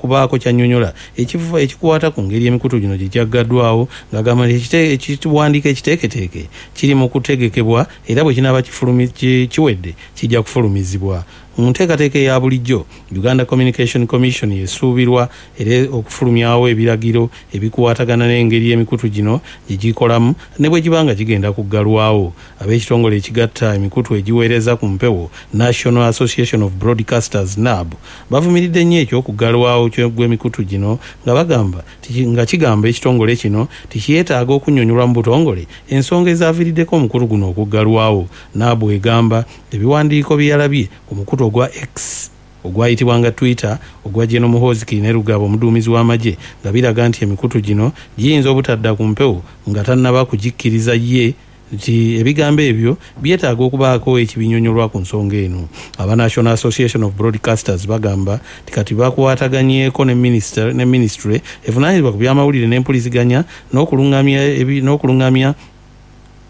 Kubaako ky'annyonnyola ekikwata ku ngeri emikutu gino gye gyaggaddwawo, ng'agamba nti ekiwandiiko ekiteeketeeke kiri mu kutegekebwa era bwe kinaaba kiwedde kijja kufulumizibwa. Mu nteekateeka eya bulijjo, Uganda Communication Commission esuubirwa era okufulumyawo ebiragiro ebikwatagana n'engeri emikutu gino gye gikolamu ne bwe giba nga gigenda kuggalwawo. Ab'ekitongole ekigatta emikutu egiweereza ku mpewo, National Association of Broadcasters, NAB, bavumiridde nnyo eky'okuggalwawo gw'emikutu gino nga bagamba nga kigamba ekitongole kino tikyetaaga okunnyonnyolwa mu butongole ensonga ezaaviiriddeko omukutu guno okuggalwawo. NAB egamba ebiwandiiko bye yalabye ku mukutu ogwa X, ogwayitibwanga Twitter, ogwa General Muhoozi Kainerugaba, omuduumizi w'amagye, nga biraga nti emikutu gino giyinza obutadda ku mpewo nga tannaba kugikkiriza ye, nti ebigambo ebyo byetaaga okubaako ekibinyonyolwa ku nsonga eno. Aba National Association of Broadcasters bagamba nti kati bakwataganyeeko ne minisitule evunaanyizibwa ku byamawulire n'empuliziganya n'okulungamya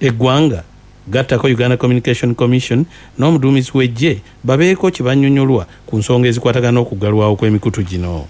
eggwanga, gattako Uganda Communication Commission n'omuduumizi w'eggye, babeeko kye bannyonnyolwa ku nsonga ezikwatagana n'okuggalwawo kw'emikutu gino.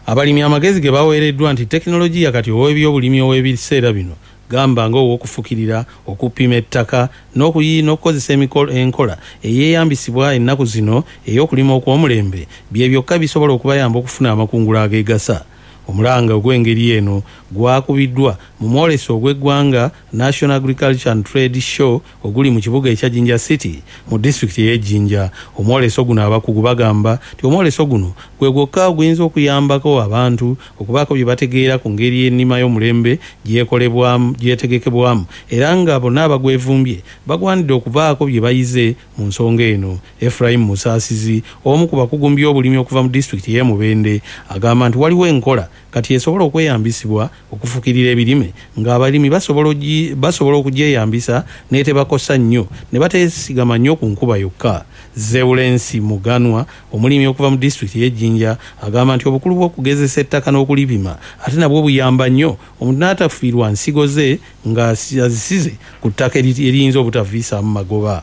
Abalimi amagezi ge baweereddwa nti tekinologiya kati ow'ebyobulimi ow'ebiseera bino, gamba ng'ow'okufukirira, okupima ettaka n'okukozesa enkola eyeeyambisibwa ennaku zino ey'okulima okw'omulembe, bye byokka bisobola okubayamba okufuna amakungula ageegasa. Omulanga ogw'engeri eno gwakubiddwa mu mwoleso ogw'eggwanga National Agriculture and Trade Show oguli mu kibuga ekya Jinja City mu disitulikiti ey'e Jinja. Omwoleso guno, abakugu bagamba nti omwoleso guno gwe gwokka oguyinza okuyambako abantu okubaako bye bategeera ku ngeri ennima y'omulembe gyekolebwamu, gyetegekebwamu, era nga bonna abagwevumbye bagwanidde okubaako bye bayize mu nsonga eno. Ephraim Musaasizi, omu ku bakugu mu byobulimi okuva mu disitulikiti y'e Mubende, agamba nti waliwo enkola kati esobola okweyambisibwa okufukirira ebirime ng'abalimi basobola okugyeyambisa n'etebakosa nnyo ne bateesigama nnyo ku nkuba yokka. Zewulensi Muganwa, omulimi okuva mu disitulikiti y'e Jinja, agamba nti obukulu bw'okugezesa ettaka n'okulipima ate nabwo buyamba nnyo omuntu n'atafiirwa nsigo ze nga azisize ku ttaka eriyinza obutaviisaamu magoba.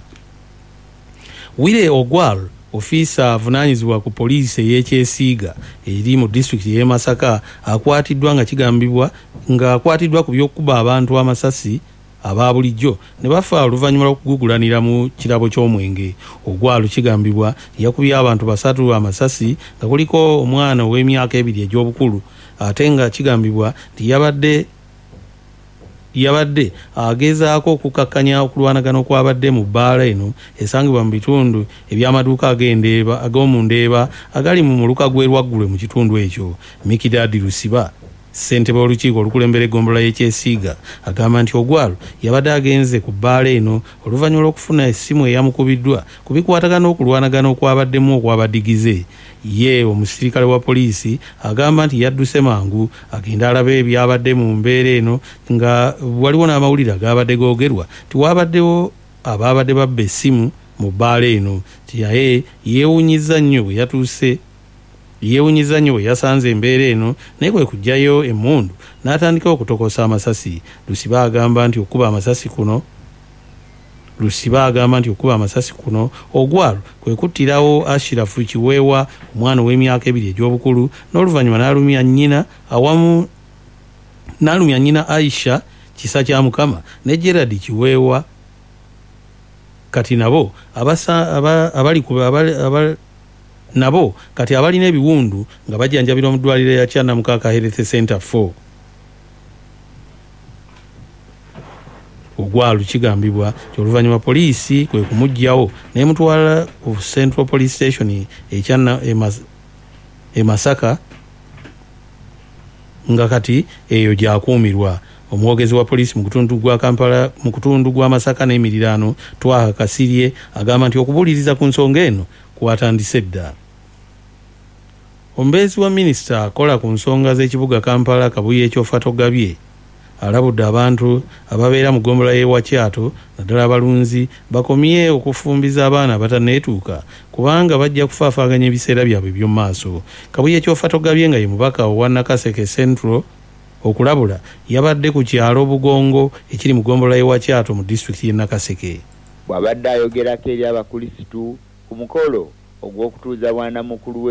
Wire Ogwal, ofiisa avunaanyizibwa ku poliisi ey'ekyesiiga eri mu disitulikiti y'e Masaka, akwatiddwa nga kigambibwa ng'akwatiddwa ku by'okukuba abantu amasasi aba bulijjo ne bafa oluvannyuma lw'okugugulanira mu kirabo ky'omwenge. Ogwal kigambibwa yakubye abantu basatu amasasi nga kuliko omwana ow'emyaka 2 egy'obukulu, ate nga kigambibwa nti yabadde agezaako okukakkanya okulwanagana okwabadde mu bbaala eno esangibwa mu bitundu eby'amaduuka ag'omu Ndeeba agali mu muluka gw'e Lwaggulwe mu kitundu ekyo. Mikidadi Lusiba, ssentebe w'olukiiko olukulembera eggombolola y'ekyesiiga, agamba nti Ogwalo yabadde agenze ku bbaala eno oluvannyuma lw'okufuna essimu eyamukubiddwa ku bikwatagana n'okulwanagana okwabaddemu okwabadigize. Ye omusirikale wa poliisi agamba nti yadduse mangu agenda alabe ebyabadde mu mbeera eno, nga waliwo n'amawulire agabadde googerwa nti wabaddewo abaabadde babba essimu mu bbaala eno, nti naye yeewunyizza nnyo bwe yasanze embeera eno, naye kwe kuggyayo emmundu n'atandika okutokosa amasasi. Lusiba agamba nti okuba amasasi kuno Ogwalo kwe kuttirawo Ashirafu Kiweewa, omwana ow'emyaka 2 egy'obukulu, n'oluvannyuma n'alumya nnyina awamu n'alumya nnyina Aisha Kisa kya Mukama ne Gerard Kiweewa. Kati nabo abali ku nabo kati abalina ebiwundu nga bajjanjabirwa mu ddwaliro ya Kyanamukaka Health Center 4. Ogwalo kigambibwa nti oluvannyuma poliisi kwe kumuggyawo n'emutwala ku Central Police Station e Masaka, nga kati eyo gy'akuumirwa. Omwogezi wa poliisi mu kutundu gwa Kampala, mu kutundu gwa Masaka n'emiriraano, Twaha Kasirye, agamba nti okubuuliriza ku nsonga eno kwatandise dda. Omubeezi wa minisita akola ku nsonga z'ekibuga Kampala, Kabuye Kyofatogabye, alabudde abantu ababeera mu ggombolola y'e Wakyato, naddala abalunzi, bakomye okufumbiza abaana abatanneetuuka kubanga bajja kufaafaaganya ebiseera byabwe eby'omu maaso. Kabuye Kyofatogabye, nga ye mubaka owa Nakaseke Central, okulabula yabadde ku kyalo Bugongo ekiri mu ggombolola y'e Wakyato mu disitulikiti y'e Nakaseke. Bw'abadde ayogerako eri Abakulisitu ku mukolo Ogw'okutuuza bwanamukulu we.